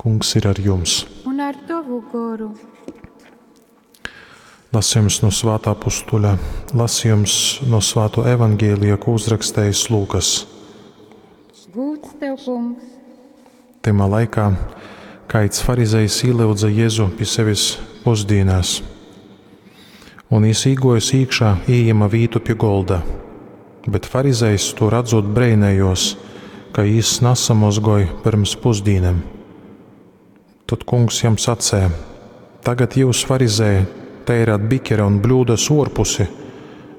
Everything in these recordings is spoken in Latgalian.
Kungs ir ar jums. Un ar tovu goru. Lasījums no Svētā apustuļa, lasījums no Svāto evaņģēlija, ko uzrakstījis Lūkas. Gūds tev, kungs! Tymā laikā kaids farizejs ielyudza Jezu pi sevis pusdīnās. Un jis īgojis īkšā, ījima vītu pi golda. Bet farizejs to radzot breinējos, ka jis nasamozgoj pyrms pusdīnem. Tad kungs jam sacēja: Tagad jūs, farizēji, teirāt bikere un bļūdas orpusi,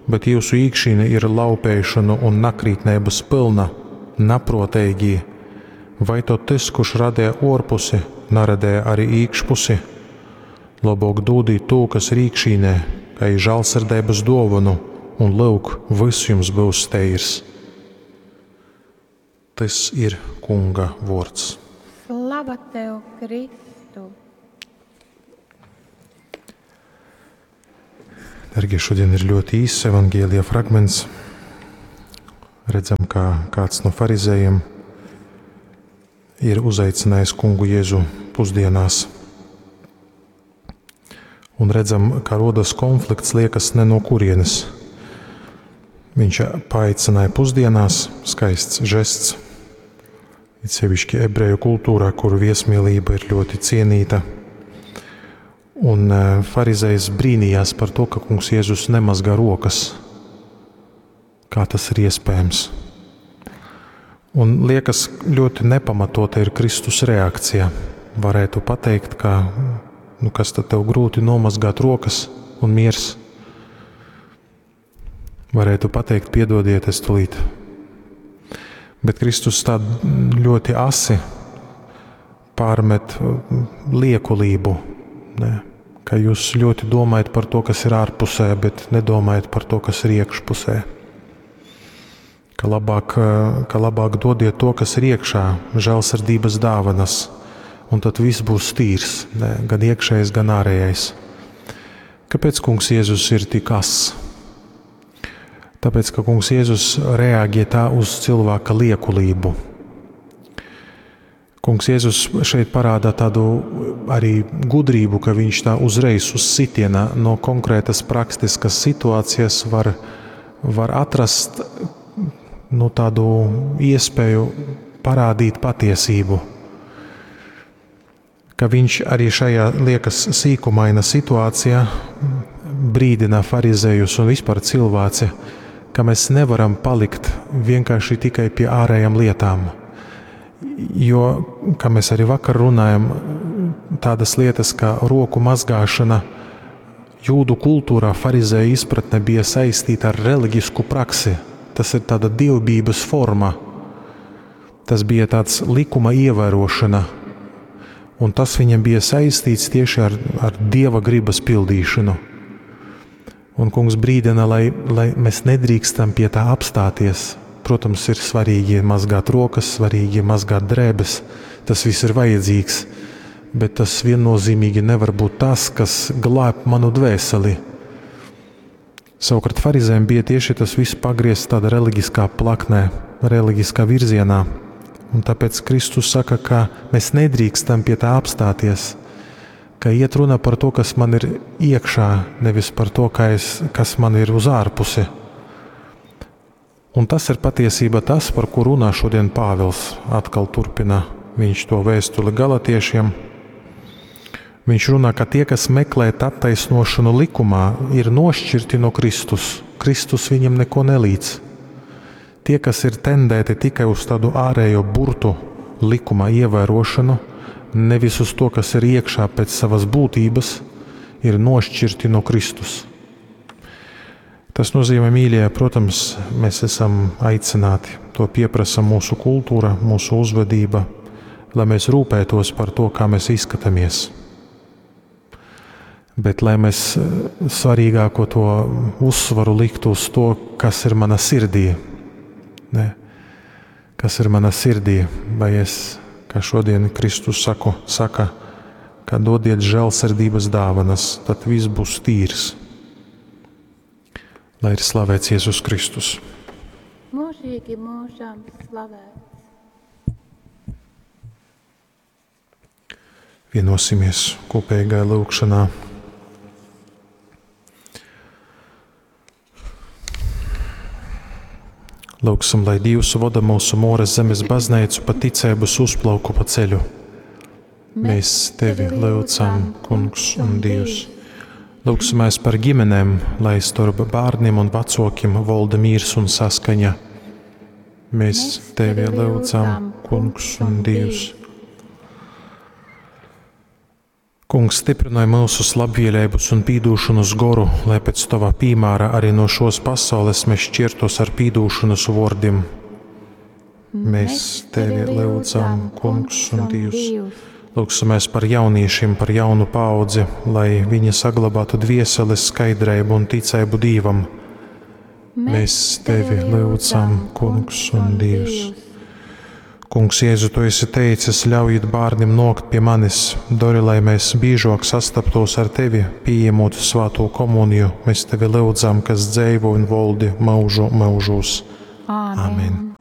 bet jūsu īkšīne ir laupēšanu un nakrītneibas pilna, naproteigī. Vai to tas, kurš radīja orpusi, naradēja arī īkšpusi? Labāk dūdīt to, kas ir īkšīnē, kā i žālsirdības dāvanu, un lūk, viss jums būs teirs. Tas ir Kunga vārds. Slava tev, Kristu! Dargie, šodien ir ļoti īss evaņģēlija fragments. Redzam, kā kāds no farizējiem ir uzaicinājis kungu Jēzu pusdienās. Un redzam, kā rodas konflikts, liekas, ne no kurienes. Viņš paaicināja pusdienās, skaists žests. It sevišķi ebreju kultūrā, kur viesmīlība ir ļoti cienīta. Un farizejs brīnījās par to, ka kungs Jēzus nemazgā rokas. Kā tas ir iespējams? Un liekas, ļoti nepamatota ir Kristus reakcija. Varētu pateikt, ka nu, kas tad tev grūti nomazgāt rokas un miers. Varētu pateikt, piedodiet, es tūlīt. Bet Kristus tā ļoti asi pārmet liekulību, ne? Ka jūs ļoti domājat par to, kas ir ārpusē, bet nedomājat par to, kas ir iekšpusē. Ka labāk dodiet to, kas ir iekšā, žēlsirdības dāvanas, un tad viss būs tīrs, ne? Gan iekšējais, gan ārējais. Kāpēc kungs Jēzus ir tik ass? Tāpēc, ka kungs Jēzus reaģē tā uz cilvēka liekulību. Kungs Jēzus šeit parāda tādu arī gudrību, ka viņš tā uzreiz uz sitiena no konkrētas praktiskas situācijas var atrast, nu, tādu iespēju parādīt patiesību. Ka viņš arī šajā liekas sīkumaina situācijā brīdina farizējus un vispār cilvēci, ka mēs nevaram palikt vienkārši tikai pie ārējām lietām. Jo, kā mēs arī vakar runājam, tādas lietas kā roku mazgāšana jūdu kultūrā farizēju izpratne bija saistīta ar reliģisku praksi. Tas ir tāda dievbijības forma. Tas bija tāds likuma ievērošana. Un tas viņam bija saistīts tieši ar dieva gribas pildīšanu. Un kungs brīdina, lai mēs nedrīkstam pie tā apstāties. Protams, ir svarīgi mazgāt rokas, svarīgi mazgāt drēbes. Tas viss ir vajadzīgs, bet tas viennozīmīgi nevar būt tas, kas glāb manu dvēseli. Savukārt farizējiem bija tieši tas viss pagriezts tādā reliģiskā plaknē, reliģiskā virzienā. Un tāpēc Kristus saka, ka mēs nedrīkstam pie tā apstāties, ka iet runa par to, kas man ir iekšā, nevis par to, kas man ir uz ārpusi. Un tas ir patiesība tas, par ko runā šodien Pāvils. Atkal turpina viņš to vēstuli galatiešiem. Viņš runā, ka tie, kas meklē attaisnošanu likumā, ir nošķirti no Kristus. Kristus viņam neko nelīdz. Tie, kas ir tendēti tikai uz tādu ārējo burtu likuma ievērošanu, nevis uz to, kas ir iekšā pēc savas būtības, ir nošķirti no Kristus. Tas nozīmē, mīļie, protams, mēs esam aicināti, to pieprasa mūsu kultūra, mūsu uzvedība, lai mēs rūpētos par to, kā mēs izskatāmies. Bet lai mēs svarīgāko to uzsvaru liktu uz to, kas ir mana sirdī. Ne? Kas ir mana sirdī, vai es, kā šodien Kristus saka, ka dodiet žēlsirdības dāvanas, tad viss būs tīrs. Lai ir slavēts Jēzus Kristus. Mūžīgi mūžam slavēts. Vienosimies kopīgā lūgšanā. Lūgsim, lai Dievs voda mūsu Mūras zemes baznīcu pa ticības uzplauku pa ceļu. Mēs tevi lūdzam, Kungs un Dievs. Lūgsimies par ģimenēm, lai starp bērniem un vecākiem valda miers un saskaņa. Mēs tevi lūdzam, Kungs un Dievs. Kungs, stiprinoj mūsu labvēlības un pīdūšanas goru, lai pēc tava piemēra arī no šos pasaules mēs šķirtos ar pīdūšanas vārdiem. Mēs tevi lūdzam, Kungs un Dievs. Lūgsimies par jauniešiem, par jaunu paudzi, lai viņi saglabātu dvieseles skaidrību un ticību Dievam. Mēs tevi lūdzam, Kungs un Dievs. Kungs, Jēzu, tu esi teicis, ļaujiet bērniem nokt pie manis, dori, lai mēs biežāk sastaptos ar tevi, pieņemot svēto komuniju. Mēs tevi lūdzam, kas dzīvo un valdi mūžu mūžos. Āmen. Amen.